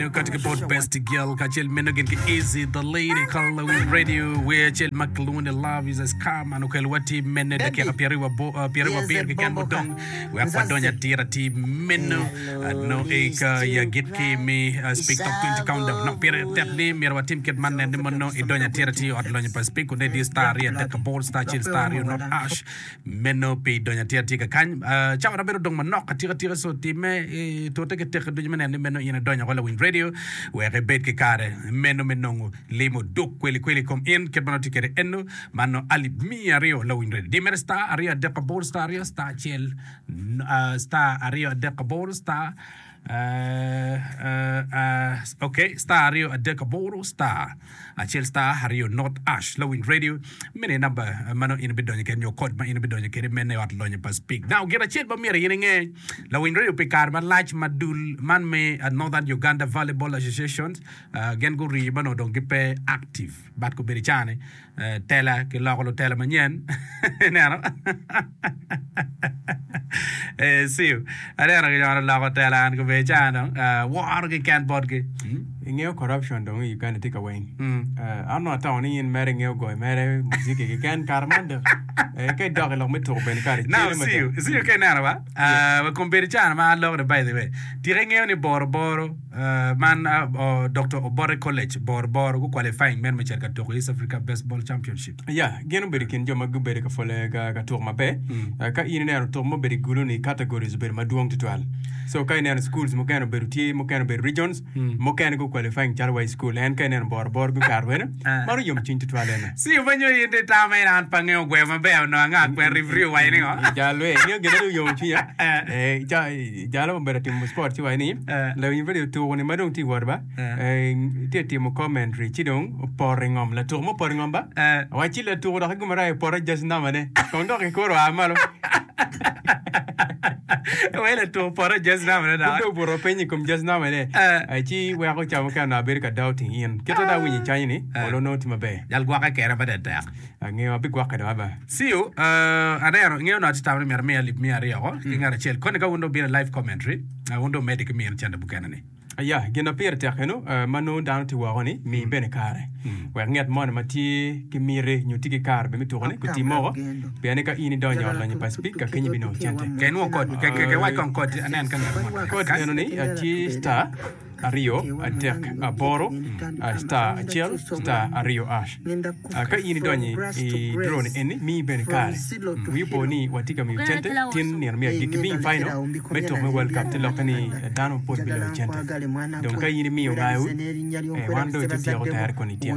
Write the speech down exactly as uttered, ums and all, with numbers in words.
Eno kati ki bot Best Girl kacel meno gin ki Easy the Lady Kalawin Radio wer acel ma kilwongo ni Love is a Scam an okelo wa ti mene dakika pyeraryo abo- uh, pyeraryo abiro keken mudong wek wadony atir atir meno uh, no e ka ya gitki mi uh, Speak Top twenty Countdown. Nok pire tek ni myero watim kit man nen ni mono idonyo atir atir i ot lonyo pa Speak kun idi star aryo adek aboro star acel star aryo not ash meno pi donyo atir atir kakany. Uh, cawa na bedo dong manok atika tika so time eh, tute ki teke ducu me neno ni meno in idonyo oko lawiny radio wek ibed ki kare meno me nongo limo duk kweli kweli i kom in kit ma nongo tye kwede eno man nongo alip miya aryo lawiny radio di mere star aryo adek aboro star aryo star acel n- uh, star aryo adek aboro star uh, uh, uh, ok star aryo adek aboro star acel star aryo not ash lawiny radio mene namba ma nongo in ibidonyo kwede nyo kod ma in ibidonyo kwede mene i ot lonyo pa Speak. Now gin acel ma myero in inge lawiny radio pi kare malac ma dul man me uh, Northern Uganda Volleyball Association uh, gin gurii ma nongo dong gipe active but gubedo i cani uh, tela kiloko lutela manyen ineno eh, siu aneno kinyono loko tela an gubedo i cani dong uh, woro keken botgi mm? Ingeyo corruption dong i Uganda tye ka weng. Mm. Uh, an onongo atamo ni in mere ingeyo goyo mere muziki keken kare man dok eh, ka idok i lok me tuko bene kare Now, cele see you, mada. see you ka ineno ba? Yeah. Uh, kombeddi cana ma aloko ni by the way. Tika ingeyo ni Boro Boro, uh, man uh, uh, Doctor Obote College, Boro Boro, gu qualifying men me cito ka tuko East Africa Baseball Championship. Ya, gin obedo i kin jo ma gubedo ka pwole ka, ka tuko maber. Mm. Uh, ka in ineno tuko ma obedo i gulu-ni categories obedo madwong tutwal. So ka ineno schools mukene obedo tye, mukene obedo regions, Mm. mukene gu qualifying calo wa i school. En ka ineno Boro Boro gukato bene, Ah. mano yomo cwiny tutwal ene. See you ma nyo in di tama in an pa ngeyo gweyo maber onongo anga kwer referee owaco ni ngo? Jalo eh, ingeyo gin ma dong yomo cwinya. Eh. Eh, ca- jalo obedo timo sport ci waco ni, Eh. lawiny radio tuko ni ma dong tye i wot ba, Eh. eh, tye timo commentary ci dong opoto i ngom. Latuko mo opoto i ngom ba? Eh. Wacci latuko dok i gum arayo opoto just namba ne. Kong dok kikuro oa malo. Wai latuko opoto just namba ne dok. Pud dong obuto piny i kom just namba ne. Eh. Eh, ci weko ca mukene onongo abedo ka doubting in. Kit ma dong awinyo i canyi ni, Eh. olo nongo tye maber. Jal gwokke kene pa tek. Angeyo abigwokke dong aba. See you, uh, aneno, ingeyo onongo atye tamo ni myero amiya alip miya aryo ko, ki ngat acel. Koni ka wun dong obino i live commentary, uh, wun dong wumedde ki mino cente mukene ni. Aya, gin ma pire tek eno eh, ma nongo dano tye woko ni, mi bene kare. Wek nget moni ma tye ki miti nyo tye ki kare bene me tuko-ni guti moko, pien ni ka in idonyo i ot lonyo pa cipika kenyo ibinongo cente. Ke inwo kod, ke, ke, ke wac kong kod, anen ka ngat mo Kod kany. eno ni eh, tye star aryo adek aboro ah, star acel star aryo ash. Ah, Ka in idonyo i draw ni eni, miyi bene kare. Wi opo ni watye ka miyo cente tin nino me agikki being final me tuko me World Cup te lokke ni dano mapol biloyo cente. Dong ka in imiyo ngayo, eh, wan dong ite tyeko tere koni ityeko.